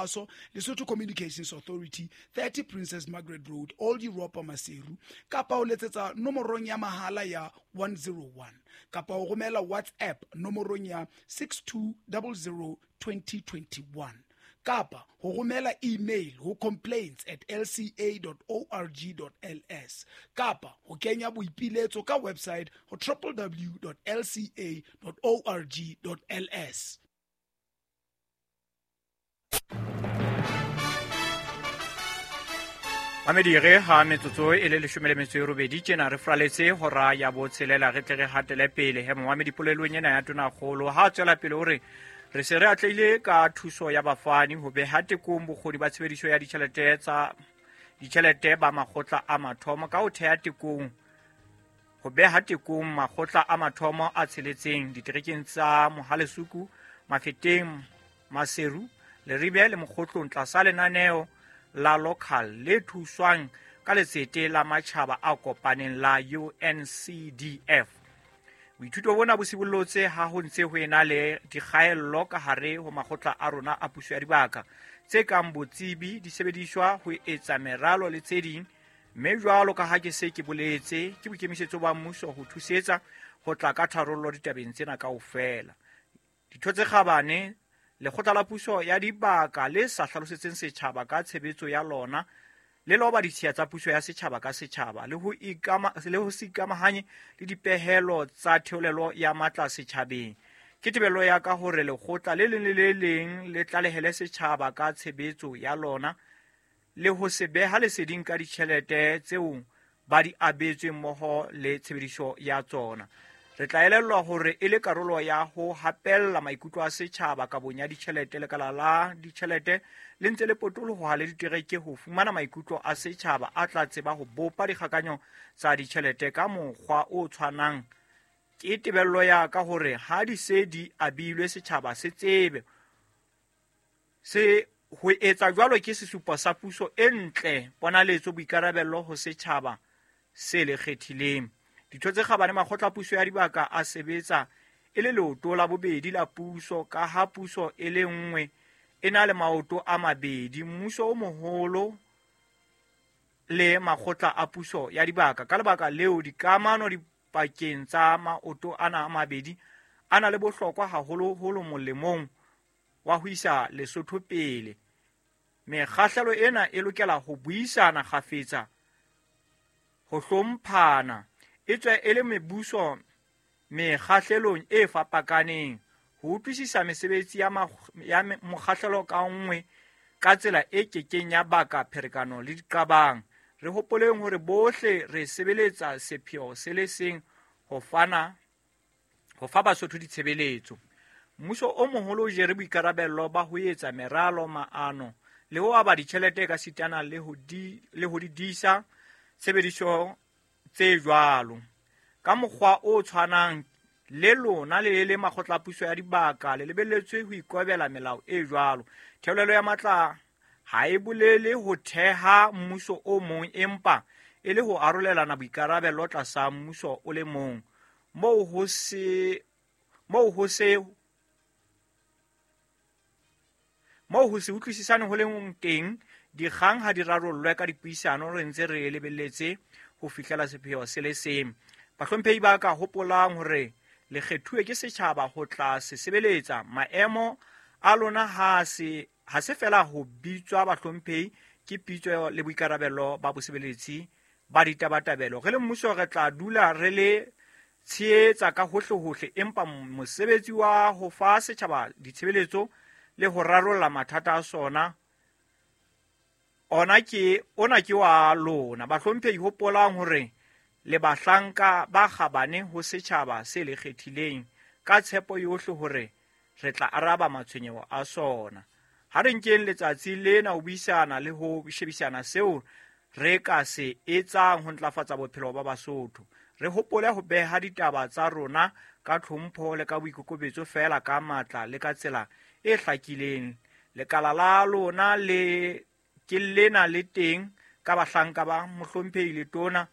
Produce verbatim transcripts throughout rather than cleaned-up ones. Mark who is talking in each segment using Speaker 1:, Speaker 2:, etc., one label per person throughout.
Speaker 1: Kgaso, Lesotho Communications Authority, thirty Princess Margaret Road, Old Europa, Maseru, kapa o letsetsa nomorong ya mahala ya one zero one, kapa o romela WhatsApp nomorong ya six two zero zero twenty twenty-one, kapa ho romela email ho complaints at l c a dot org dot l s, kapa ho kenya boipiletso ka website ho w w w dot l c a dot org dot l s.
Speaker 2: Mamedire ha metsotso e le leshome le metso e robedi tjena re fraletse hora ya botshelela re tle re hatele pele. He momamedi polelong ena ya Tonakgolo ha tswela pele hore re se re atlehile ka thuso ya bafani ho beha tekong bokgoni ba tshebediso ya ditjhelete tsa ditjhelete ba makgotla a mathomo ka ho theha tekong ho beha tekong makgotla a mathomo a tsheletseng diterekeng tsa Mohalesuku, Mafeteng, Maseru, Leribe le Mokgotlong tlasa lenaneo la local le thuswang ka letsete la matjhaba a kopaneng la U N C D F. Boithuto bona bo sibollotse ha ho ntse ho ena le dikgaello ka hare ho makgotla a rona a puso ya dibaka tse kang botsebi, disebediswa, ho etsa meralo le tse ding. Mme jwalo ka ha ke se ke boletse, ke boikemisetso ba mmuso ho thusetsa ho tla ka tharollo ditabeng tsena kaofela. Ditho tse kgabane, lekgotla la puso ya dibaka le sa hlalosetseng setjhaba ka tshebetso ya lona le loba ditshiya tsa puso ya setjhaba ka setjhaba le ho ikama, le ho se ikamahanye le dipehelo tsa theolelo ya matla setjhabeng. Ke tebello ya ka hore lekgotla le leng le le leng le tlalehele setjhaba ka tshebetso ya lona le ho se beha leseding ka ditjhelete tseo ba di abetsweng mmoho le tshebediso ya tsona. Re tla elellwa hore e le karolo ya ho hapella maikutlo a setjhaba kabong ya ditjhelete, lekala la ditjhelete le ntse le potoloha le ditereke ho fumana maikutlo a setjhaba a tla tseba ho bopa dikgakanyo tsa ditjhelete ka mokgwa o tshwanang. Ke tebello ya ka hore ha di se di abilwe setjhaba se tsebe se ho etsa jwalo ke sesupo sa puso e ntle, ponaletso, boikarabello ho setjhaba se le kgethileng. Ditho tse kgabane, makgotla a puso ya dibaka a sebetsa e le leoto la bobedi la puso ka ha puso e le nngwe e na le maoto a mabedi, mmuso o moholo le makgotla a puso ya dibaka. Ka lebaka leo, dikamano dipakeng tsa maoto ana a mabedi a na le bohlokwa haholoholo molemong wa ho isa Lesotho pele. Mekgahlelo ena e lokela ho buisana kgafetsa, ho hlomphana, etswe e le mebuso mekgahlelong e fapakaneng, ho utlwisisa mesebetsi ya ya mokgahlelo ka nngwe ka tsela e kekeng ya baka pherekano le diqabang. Re hopoleng hore bohle re sebeletsa sepheo se le seng, ho fana ho fa Basotho ditshebeletso. Mmuso o moholo o jere boikarabello ba ho etsa meralo, maano le ho aba ditjhelete ka sitana le ho di le ho di disa tshebediso tse jwalo. Ka mokgwa o tshwanang le lona le le makgotla a puso ya dibaka le lebelletswe ho ikobela melao e jwalo. Theolelo ya matla ha e bolele ho theha mmuso o mong, empa e le ho arolelana boikarabello tlasa mmuso o le mong. Moo ho se moo ho se moo ho se utlwisisane ho leng teng, dikgang ha di rarollwe ka dipuisano, re ntse re lebelletse ho fihlela sepheo se le seng. Bahlomphehi ba ka hopolang hore le kgethuwe ke setjhaba ho tla se sebeletsa. Maemo a lona ha se ha se fela ho bitswa bahlomphehi, ke pitso le boikarabello ba bosebeletsi ba ditabatabelo. Re le mmuso re tla dula re le tshehetsa ka hohle-hohle, empa mosebetsi wa ho fa setjhaba ditshebeletso le ho rarolla mathata a sona ona ke ona ke wa lona. Bahlomphehi, hopolang hore le bahlanka ba kgabane ho setjhaba se le kgethileng ka tshepo yohle hore re tla araba matshwenyeho a sona. Ha re nkeng letsatsi lena ho buisana le ho shebisana seo re ka se etsang ho ntlafatsa bophelo ba Basotho. Re hopole ho beha ditaba tsa rona ka tlhompho le ka boikokobetso feela ka matla le ka tsela e hlakileng. Lekala la lona le ke lena le teng ka bahlanka ba mohlomphehi Letona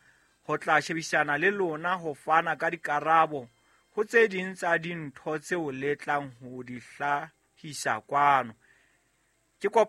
Speaker 2: ho tla shebisana le lona ho fana ka dikarabo ho tse ding tsa dintho tseo le tlang ho di hlahisa kwano. Ke kopa